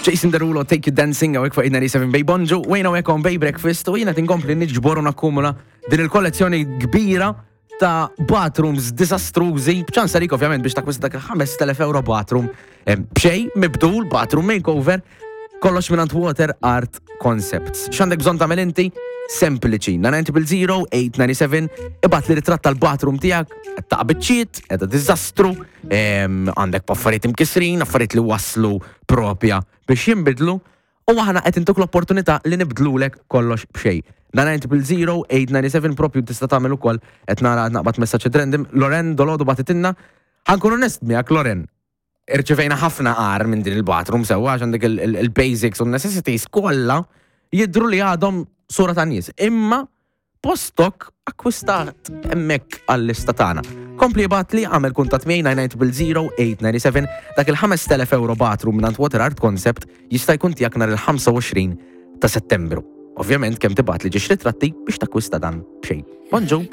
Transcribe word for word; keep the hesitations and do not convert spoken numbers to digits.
Jason Derulo, Take You Dancing, hawnhekk fuq eight ninety-seven Bay. Bonġu, Wayne hawnhekk on Bay Breakfast, u jiena tinkompli niġbor u nakkumula din il-kollezzjoni kbira ta' bathrooms disastrużi, b'ċans għalik ovvjament biex takwista dak il-ħamest elef euro bathroom, em, b'xejn, mibdul, bathroom makeover, kollox minn Water Art Concepts. X'għandek bżonn tagħmel inti? Sempliċi. nine zero zero, eight nine seven, ibgħatli ritratt tal-bathroom tiegħek, qed taqa' biċċiet, qiegħda diżastru, em, għandek affarijiet imkisrin, affarijiet li waslu propja biex jinbidlu, u aħna qed intuk l-opportunità li nibdlulek kollox b'xejn. nine zero zero, eight nine seven propju tista' tagħmel ukoll. Qed nara naqbad messaġġ random. Loren dalgħodu bagħtitilna. Ħa nkun onest miegħek, Loren. Irċevejna ħafna agħar minn din il-bathroom sewwa, għax għandek il- il- il-basics u necessities kollha jidru li għadhom sura ta' nies. Imma postok akkwistat hemmhekk għall-lista tagħna. Kompli ibgħatli, għamel kuntatt miegħi nine nine zero zero, eight nine seven. Dak il-ħamest elef euro bathroom minn Water Art Concept jista' jkun tiegħek nhar il-ħamsa u għoxrin ta' Settembru. Ovvjament kemm tibgħatli żewġ ritratti biex takkwista dan b'xejn. Bonġu.